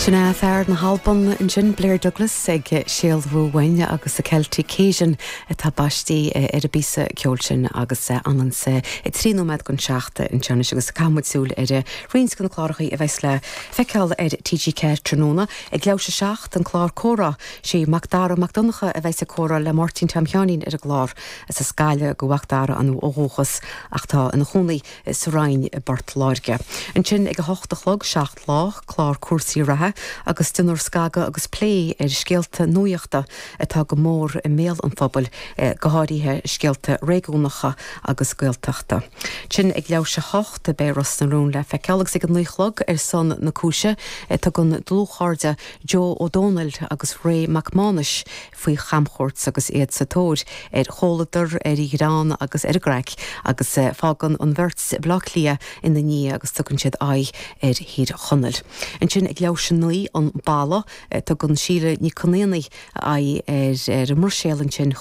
Sin é fear na hAlban ansin, Blair Douglas, ag sealbhú uainn agus The Celtic Cajun atá baistí ar an bpíosa ceoil sin agus anonn sa 3 nóiméad don 7 anseo anois agus caithfidh muid súil ar roinnt de na cláracha a bheas le feiceáil ar TG4 tráthnóna. Ag leathuair tar éis a 7, an clár Comhrá, sé Mac Dara Mac Donncha a bheas ag comhrá le Máirtín Tom Sheáinín ar an gclár. Is as Gaillimh do Mhac Dara ó dhúchas ach tá ina chónaí sa Rinn i bPort Láirge. Ansin ag a hocht a chlog, 7 Lá, clár cúrsaí reatha agus déanfar scagadh agus plé ar scéalta nuachta atá go mór i mbéal an phobail, go háirithe scéalta réigiúnacha agus Gaeltachta. Ansin ag leathuair tar éis a hocht, beidh Ros na Rún le feiceáil agus ag a naoi a chlog ar son na cúise, tugann dlúthchairde Joe Ó Dónaill agus Ray Mac Mánais faoi chamchuairt agus iad sa tóir ar chomhluadar, ar ghreann agus ar an gcraic agus fágann an bheirt Baile Átha Cliath ina ndiaidh agus tugann siad aghaidh ar Thír Chonaill. Ansin ag leathuair tar éis a naoi, An Balla, tugann Síle Nic Con Éanaigh aghaidh ar an mBruiséil ansin chun.